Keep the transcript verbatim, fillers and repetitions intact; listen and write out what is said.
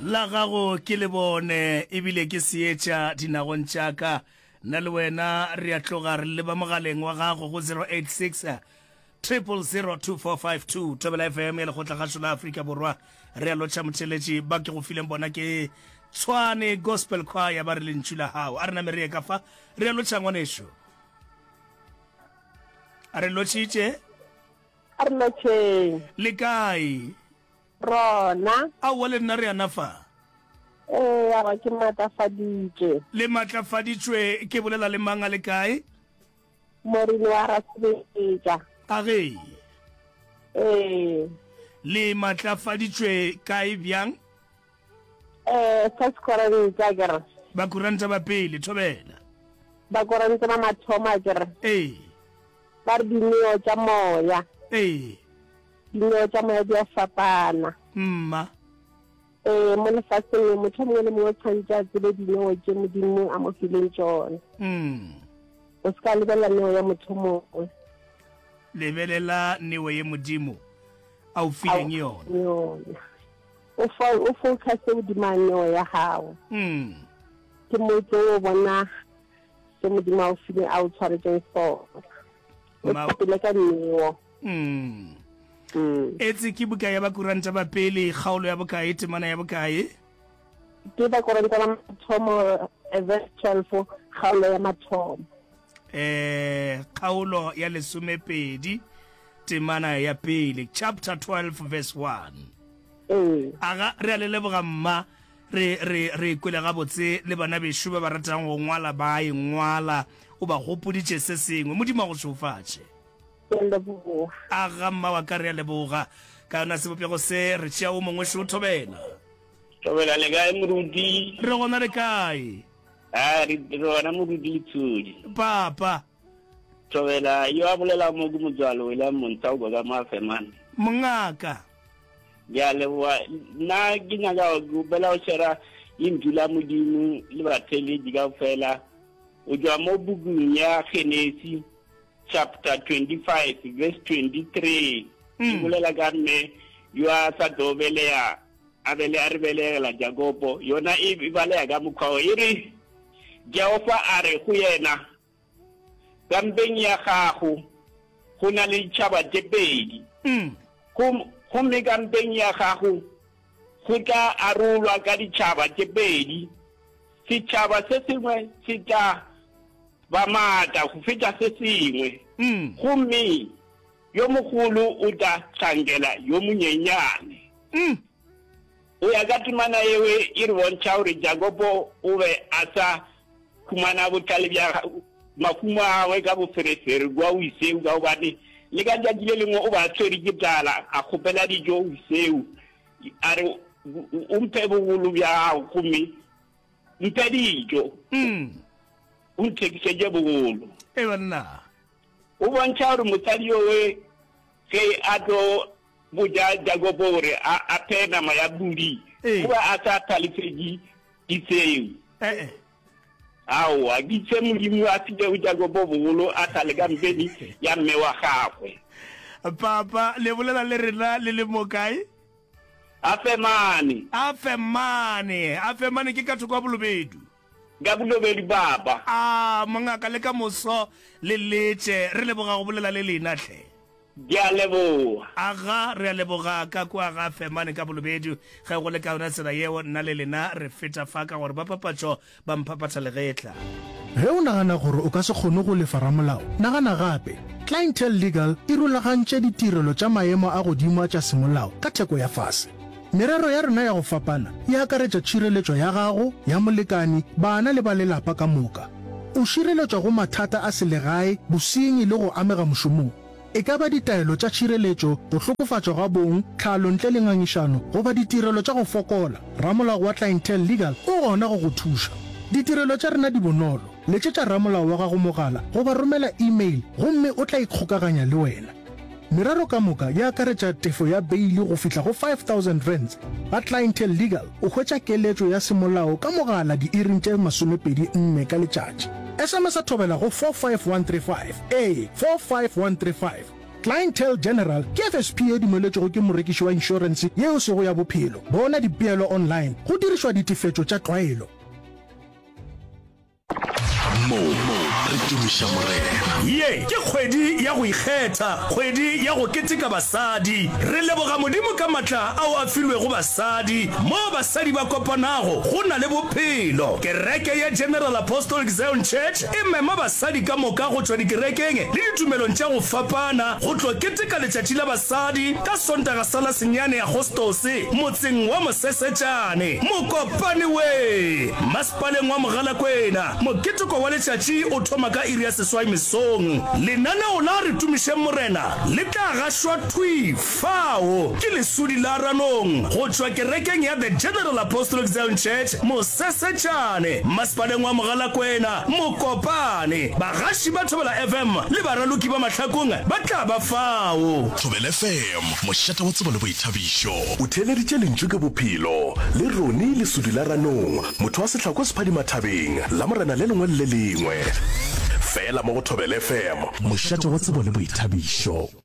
La gago ke lebone ebile ke seetša dinagong tša ka. Nna le wena re a tloga re leba mogaleng wa gago go zero eight six triple zero two four five two. Thobela F M ya Lekgotlakgašo la Afrika Borwa. Re a lotšha motheeletši. Ba ke go fileng bona ke Tshwane Gospel Choir ba re lentšu la gago. A re name re ye ka fa. Re a lotšha ngwanešu. A re lotšhitše. A re lotšheng. Le kae? Rona. Aowa le nna re ana fa. Ee, aowa ke matlafaditšwe. Le matlafaditšwe, ke bolela le mang a le kae? Morini wa Rasebetša. A ge? Ee. Le matlafaditšwe kae bjang? Ee, First Koranta akere. Bakoranta ba pele, thobela. Bakoranta ba mathomo akere. Ee. Ba re dineo tša moya. Ee. Dineo tša moya di a fapana. Mma. Ee, mo lefaseng le motho mongwe le mongwe o tshwanetse a tsebe dineo tše Modimo a mo fileng tšona. Mm. O se ka lebelela neo ya motho mongwe. Lebelela neo ye Modimo a o fileng yona. Yona. O fo o focus godimo ga neo ya gago. Mm. Ke mo tlo o bona se Modimo a o fileng a o tshwaretšeng sona. O tshepele ka neo. Mm. Mm. Etse ke buka ya Bakoranta ba pele, kgaolo ya bokae, temana ya bokae? Ke Bakoranta ba mathomo, eh, verse twelve, kgaolo ya mathomo. Eh, kgaolo ya lesomepedi, temana ya pele, chapter twelve verse one. Ee. Aga, re a le leboga mma, re, re, re kwele gabotse le bana bešo ba ba ratang go ngwala ba e ngwala, o ba gopoditše se sengwe. Modimo a go šegofatše. Ke a leboga. Aga mma wa ka, re a leboga. Ka yona sebopego se, re tšea o mongwe šo, Thobela. Thobela, le kae moruti? Re gona, le kae? A re re gona moruti Letshodi. Papa. Thobela, yo a bolelago mo ke motswalo William Montauko ka mo Afemane. Mongaka. Ke a leboga. Nna ke nyaka go kgopela go shera lentšu la Modimo le batheeletši kaofela go tšwa mo bukung ya Genesi chapter twenty-five verse twenty-three. E bolela ka mme yo a sa tlo beleya a bele a re belegela Jakobo. Yona e baleya ka mokgwa wo, e re, Jehofa a re go yena, Ka mpeng ya gago go na le ditšhaba tše pedi, gomme ka mpeng ya gago go tla arolwa ka ditšhaba tše pedi, setšhaba se sengwe se tla ba maatla go feta se sengwe, gomme yo mogolo o tla hlankela yo monyenyane. Go ya ka temana yeo e re bontšha gore Jakobo o be a sa humana bohlale bja mahumo a gagwe ka boferefere kua Esau, ka gobane le ka tšatši le lengwe o be a tshwere ke tlala, a kgopela dijo go Esau, a re, O mphe bogolo bja gago gomme mphe dijo, o nthekišetše bogolo. Ee banna. O bontšha gore mosadi yowe ge a tlo botša Jakobo gore a a phee nama ya pudi, o be a sa hlalefetše Esau. Ee. Aowa, ke se Modimo a filego Jakobo bogolo a sa le ka mpeng ya mme wa gagwe. Papa, le bolela le rena le le mo kae? Afemane. Afemane. Afemane ke ka thoko ya Bolobedu. Ka Bolobedu, Papa. A, mongaka, le ka moso le letše. Re leboga go bolela le lena hle. Ke a leboga. Aga, re a leboga ka kua ga Femane ka Bolobedu. Ge go le ka yona tsela yeo, nna le lena re feta fa ka gore ba papatšo ba mphaphatha legetla. Ge o nagana gore o ka se kgone go lefa ramolao, nagana gape. Clientele Legal e rulagantše ditirelo tša maemo a godimo a tša semolao ka theko ya fase. Merero ya rena ya go fapana e akaretša tšhireletšo ya gago, ya molekani, bana le ba lelapa ka moka. O šireletšwa go mathata a selegae, bosenyi le go amega mošomong. E ka ba ditaelo tša tšhireletšo, go hlokofatšwa ga bong, tlhalo ntle le ngangišano, goba ditirelo tša go fokola, ramolao wa Clientele Legal o gona go go thuša. Ditirelo tša rena di bonolo. Letšetša ramolao wa gago mogala goba romela e-mail gomme o tla ikgokaganya le wena. Merero ka moka e akaretša tefo ya beili go fihla go five thousand rands. Ga Clientele Legal o hwetša keletšo ya semolao ka mogala diiring tše masomepedi nne ka letšatši. S M S-a thobela go four five one three five, ee, four five one three five. Clientele General ke FSP ye dumeletšwego ke morekiši wa inšorense ye e sego ya bophelo. Bona dipeelo online go dirišwa ditefetšo tša tlwaelo. Mo re tumiša Morena. Ye ke kgwedi ya go ikgetha, kgwedi ya go keteka basadi. Re leboga Modimo ka matla ao a filwego basadi. Moo basadi ba kopanago, go na le bophelo. Kereke ya General Apostolic Zion Church e mema basadi ka moka go tšwa dikerekeng le ditumelong tša go fapana go tlo keteka Letšatši la Basadi ka Sontaga sa la senyane Agostose motseng wa Mosesetšane, Mokopane we! Masepaleng wa Mogalakwena. Moketeko wa letšatši o thoma ka iri ya seswai mesong. Lenaneo la Re Tumišeng Morena le tla gašwa thwi fao ke Lesodi la Ranong go tšwa kerekeng ya The General Apostolic Zion Church, Mosesetšane, Masepaleng wa Mogalakwena, Mokopane. Bagaši ba Thobela FM le baraloki ba Mahlakong ba tla ba fao. Thobela FM, mošate wa tsebo le boithabišo. O theeleditše Lentšu ke Bophelo le Ronnie Lesodi la Ranong, motho wa sehlako Sephatšhimathabeng, Lamorena le lengwe le le lengwe. Feela mo go Thobela FM. Mošate wa tsebo le boithabišo.